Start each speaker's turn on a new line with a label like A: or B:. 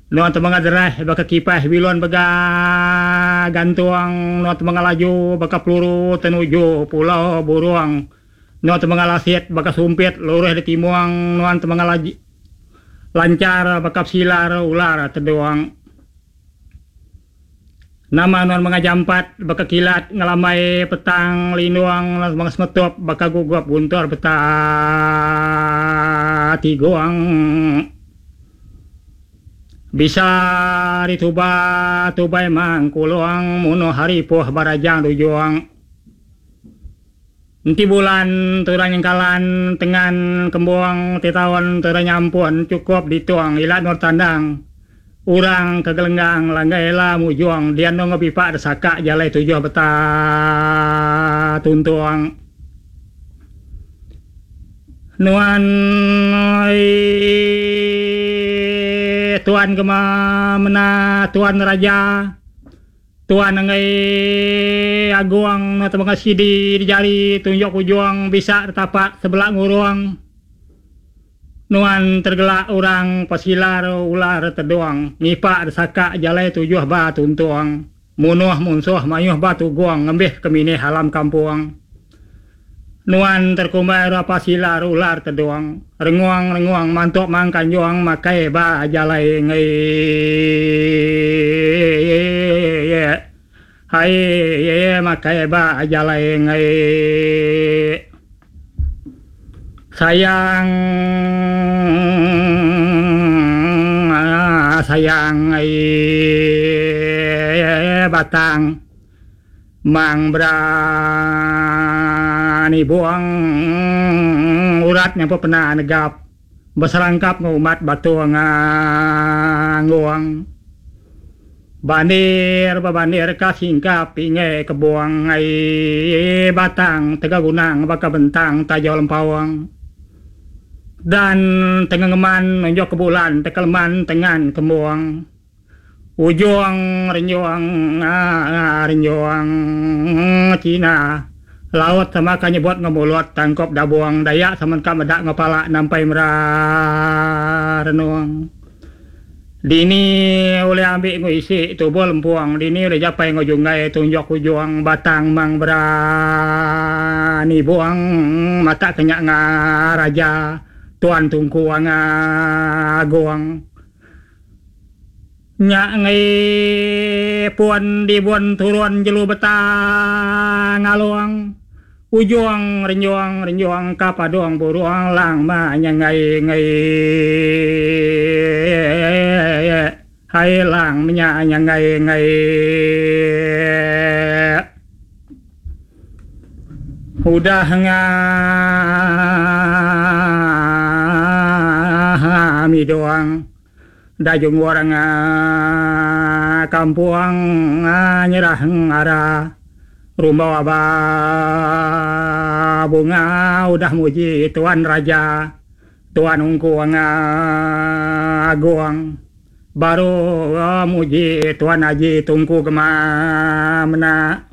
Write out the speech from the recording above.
A: Nuan temengah deras baka kipas bilun bega gantung, nuan temengah laju baka peluru tenuju pulau burung, nuan temengah lasit baka sumpit lurus ditimung, nuan temengah lanchar baka pesilar ular tedung. Nama nuan mengah jampat baka kilat ngelambai petang lindung nuan mengah semetup baka gugup guntur peta tigung. Bisa dituba tubai mang kulung munuh hari puh barajang dujung. Enti bulan tudah nyengkalan tengan kembung ti taun tudah nyampun chukup ditung ila endur tandang orang ke gelenggang langgai ila mujung dian endur enggau pipa desaka jalai tujuh beta tuntung. Nuan oi tuan gema mena tuan raja. Tuan enggai agung tebengah sidi di jari tunjuk ujung bisa ditapak sebela ngurung. Nuan tergelak orang pesilar ular tedung ngipak desaka jalai tujuh ba tuntung munuh munsuh mayuh ba tugung ngembih ke minih alam kampung. Nuan terkumbai rapa silar ular tedung rengung rengung mantuk mang kanjung makai ba jalai enggai hai makai ba jalai enggai sayang sayang ai batang. Mang berani buang urat nya pepena negap beserangkap enggau umat batu nganggung. Bandir bebandir ka singkap pingai kebung ai batang tega gunang baka bentang tajau lempaung. Dan tengengeman nunjuk ke bulan tekeleman tengan kembung. Ujung renjung renjung China laut sama ka nyebut enggau mulut tangkup dabung Dayak sama ka meda enggau pala nampai mera renung. Dini ulih ambi enggau isi tubuh lempung dini ulih japai enggau junggai tunjuk ujung batang mang berani buang mata ke nya ngaraja tuan tungku agung. Nya enggai pun dibun turun jelu beta ngalung ujung renjung renjung ka padung burung lang ma nya enggai enggai hai lang menya nya enggai enggai udah ngah midung. Dajung orang kampung nyerah ara rumbau aba bunga udah muji tuan raja tuan ungku agung baru muji tuan haji tungku gema mena.